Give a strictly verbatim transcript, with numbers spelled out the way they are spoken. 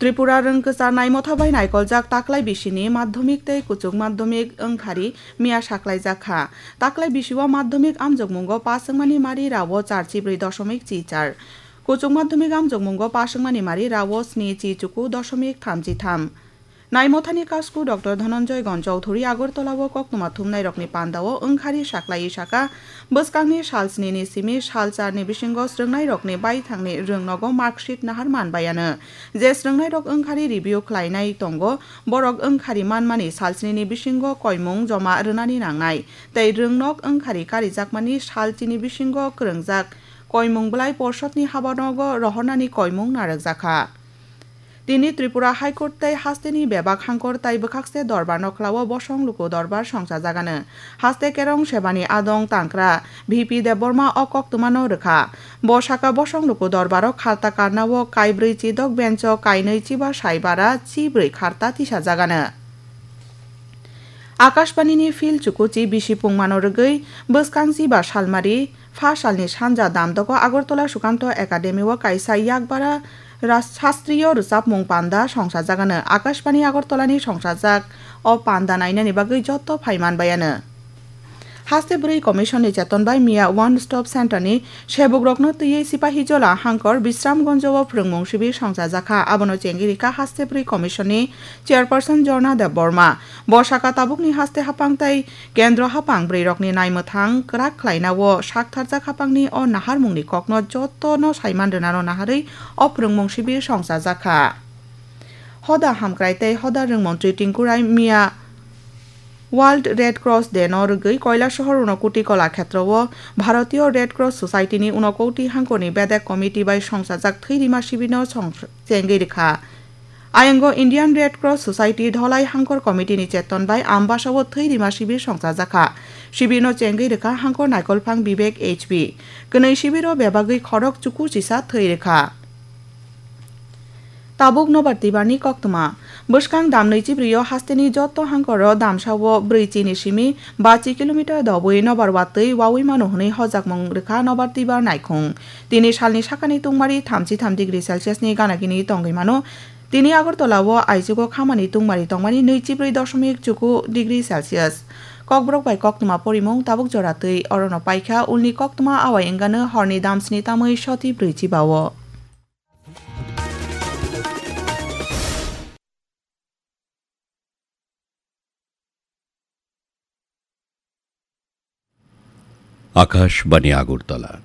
Tripura rwngkwchar naimotha bai naikoljak taklai bisini madhyamik tei kuchuk madhyamik wngkhari miya saklaijak kha. Taklai bisio madhyamik amjokmungo pass wngmani mari rao char chibrwi doshomik chi char. Kuchuk madhyamik amjokmungo pass wngmani mari rao sni chi chuku doshomik thamchi tham. Naimothani kasku Doctor Dhananjoy Gon Chowdhury Agartala o koktwma thumnairokni pandao wngkhari saklaiwi saka, bwskangni sal snini simi sal charni bisingo srwngnairokni baithangni rwngnogo marksheet nahar manbaiano. Je srwngnairok wngkhari review khlainai tongo, borok wngkhari manmani sal snini bisingo koimung joma rwnani nangnai, tei rwngnok wngkhari karijakmani sal chini bisingo kwrwngjak koimung bwlai porshotni habanogo rohornani koimung narwkjakha. Tini Tripura High Court tei hasteni bebak hangkor tai bwkhakse dorbar nokhlao bosong luku dorbar songsajagano. Haste kerong sebani adong tangkra V P Debbarma o koktwmano rwkha. Bo saka bosong luku dorbaro kharta karnao kaibrwi chidok bencho kainwi chiba saibara chibrwi kharta tisajagano. Akashbanini field chukuchi bisi pungmano rwgwi bwskang chiba salmari pha salni sanja damdogo Agartala Sukanto Academy o kaisa yakbara ras-, sastriyo rwchapmung panda songsajagano. Akashbani Agartalani songsajak o panda nainani bagwi joto phaiman bayano. Haste bwrwi commission ni cheton bai miya One Stop Center ni sebukrokno twiwi Sipahijola hangkor Bisramganj o phrwngmung sibir songchajakha. Abono chengwi rikha haste bwrwi commission ni chairperson Jorna Debbarma. Bo saka tabukni haste haphang tei kendro haphang bwrwirokni naimwthang kwrak khlainao saktharjak haphangni o naharmungni kokno jotono saiman rwnano naharwi o phrwngmung sibir songchajakha. Hoda hamkrai tei hoda rwngmantri Tinku Rai miya World Red Cross Day no rwgwi Kailasahar Unakoti Kolakhetro o Bharatiya Red Cross Society ni Unakoti hangkorni bedek committee bai songsajak thwi rima sibirno song-, chengwi rwkha. Ayango Indian Red Cross Society Dholai Hangkor Committee ni cheton bai Ambasa o thwi rima sibir songchajakha. Sibirno chengwi rwkha hangkor naikolphang Vivek H P. Kwnwi sibiro bebagwi khorok chuku chisa thwi rwkha. Tabuk nobar twibarni koktwma. Bwskang damnwi chibrio hasteni joto hangkoro damsao brwi chini simi ba chi kilometer dobwi nobar watwi wawi mano hwnwi hojakmung rwkha nobar twibar naikhung. Tini salni sakani tungmari thamchi tham degree Celsius ni ganagini tongwi mano. Tini Agartala o aichugo khamani tungmari tongmani nwi chibrwi doshomik chuku degree Celsius. Kokborok bai koktwma porimung tabuk jora twi orono paikha, ulni koktwma awai wngano horni damsni tamwi soti brwi chibao. Akashbani Agartala.